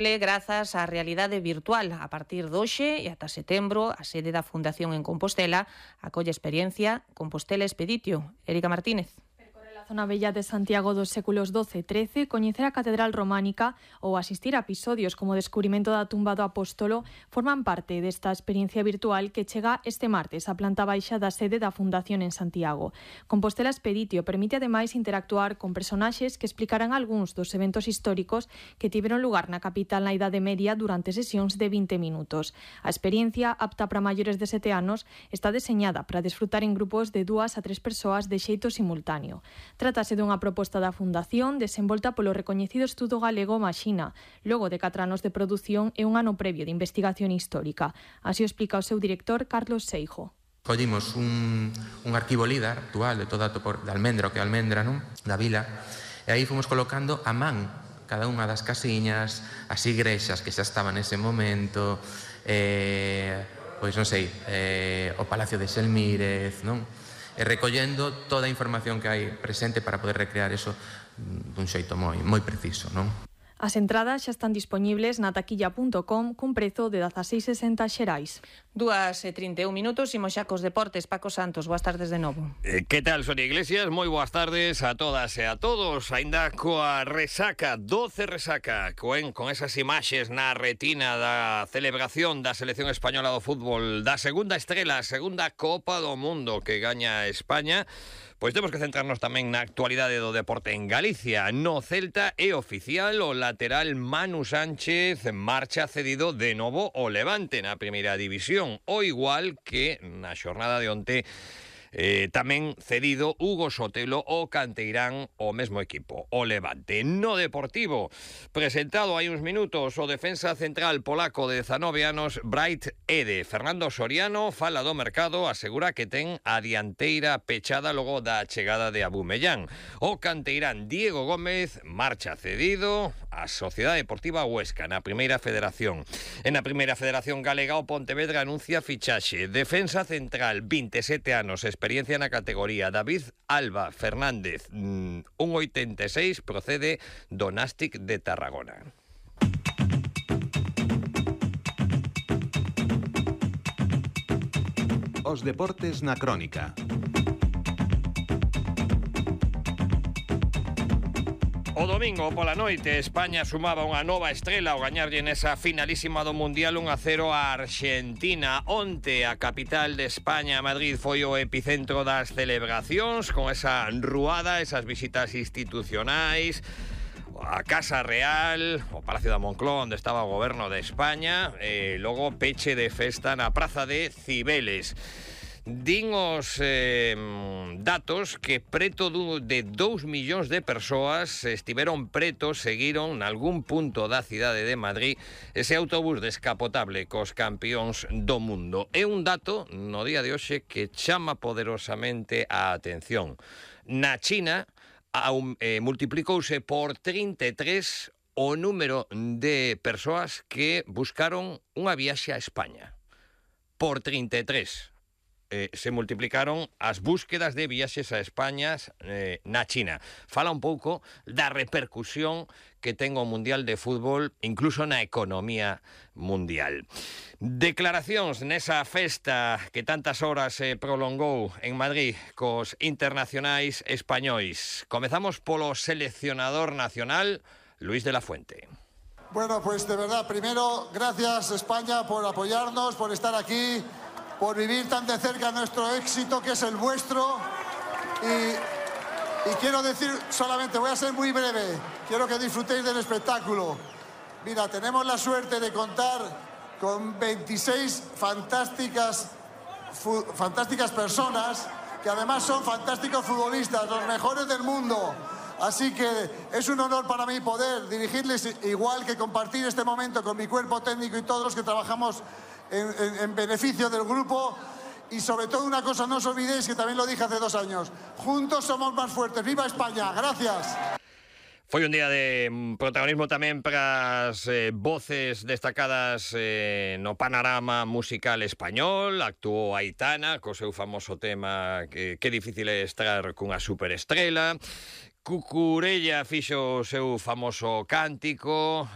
Grazas á realidade virtual. A partir de hoxe e ata setembro, a sede da Fundación en Compostela acolle experiencia Compostela Expeditio. Erika Martínez. A zona bella de Santiago dos séculos XII e XIII, coñecer a Catedral Románica ou asistir a episodios como o descubrimento da tumba do apóstolo forman parte desta experiencia virtual que chega este martes á planta baixa da sede da Fundación en Santiago. Compostela Expeditio permite ademais interactuar con personaxes que explicarán algúns dos eventos históricos que tiveron lugar na capital na Idade Media durante sesións de 20 minutos. A experiencia, apta para maiores de 7 anos, está deseñada para desfrutar en grupos de 2 a 3 persoas de xeito simultáneo. Trátase dunha proposta da Fundación desenvolta polo recoñecido estudo galego Maxina, logo de 4 anos de produción e un ano previo de investigación histórica. Así o explica o seu director, Carlos Seijo. Collimos un arquivo LIDAR actual de toda de Almendra, o que é Almendra, non? Da vila, e aí fomos colocando a man cada unha das casiñas, as igrexas que xa estaban nese momento, pois non sei, o Palacio de Xelmírez, non? E recollendo toda a información que hai presente para poder recrear eso dun xeito moi preciso, non? As entradas xa están dispoñibles na taquilla.com cun prezo de 16,60 xerais. 2:31 minutos, imos xa cos deportes. Paco Santos, boas tardes de novo. Que tal, Sonia Iglesias? Moi boas tardes a todas e a todos. Aínda coa resaca, 12 resaca, con esas imaxes na retina da celebración da selección española do fútbol, da segunda estrela, a segunda Copa do Mundo que gaña España. Pois temos que centrarnos tamén na actualidade do deporte en Galicia. No Celta é oficial, o lateral Manu Sánchez marcha cedido de novo ao Levante na primeira división, o igual que na xornada de onte tamén cedido Hugo Sotelo o canteirán o mesmo equipo, o Levante. No Deportivo, presentado hai uns minutos o defensa central polaco de 19 anos Bright Ede. Fernando Soriano fala do mercado, asegura que ten a dianteira pechada logo da chegada de Abumellán. O canteirán Diego Gómez marcha cedido a Sociedade Deportiva Huesca na Primeira Federación. En a Primeira Federación Galega, o Pontevedra anuncia fichaxe. Defensa central, 27 anos, experiencia na categoría. David Alba Fernández, 1,86, procede do Nástic de Tarragona. Os deportes na crónica. O domingo pola noite España sumaba unha nova estrela ao gañarlle nesa finalísima do Mundial 1-0 a Argentina. Onte a capital de España, Madrid, foi o epicentro das celebracións con esa ruada, esas visitas institucionais, a Casa Real, o Palacio da Moncloa onde estaba o goberno de España, e logo peche de festa na Praza de Cibeles. Din os datos que preto de 2 millóns de persoas estiveron pretos, seguiron nalgún punto da cidade de Madrid ese autobús descapotable cos campións do mundo. É un dato no día de hoxe que chama poderosamente a atención. Na China multiplicouse por 33 o número de persoas que buscaron unha viaxe a España. Por 33. Se multiplicaron as búsquedas de viaxes a España na China. Fala un pouco da repercusión que ten o Mundial de Fútbol incluso na economía mundial. Declaracións nesa festa que tantas horas se prolongou en Madrid cos internacionais españois. Comezamos polo seleccionador nacional, Luis de la Fuente. Bueno, pues de verdad, primero, gracias España por apoyarnos, por estar aquí, por vivir tan de cerca nuestro éxito, que es el vuestro. Y quiero decir solamente, voy a ser muy breve, quiero que disfrutéis del espectáculo. Mira, tenemos la suerte de contar con 26 fantásticas personas, que además son fantásticos futbolistas, los mejores del mundo. Así que es un honor para mí poder dirigirles, igual que compartir este momento con mi cuerpo técnico y todos los que trabajamos en beneficio del grupo. Y sobre todo una cosa, no os olvidéis que también lo dije hace 2 años, juntos somos más fuertes. ¡Viva España! ¡Gracias! Foi un día de protagonismo tamén para as voces destacadas no panorama musical español. Actuou Aitana co seu famoso tema que difícil é estar cunha superestrela. Cucurella fixo o seu famoso cántico,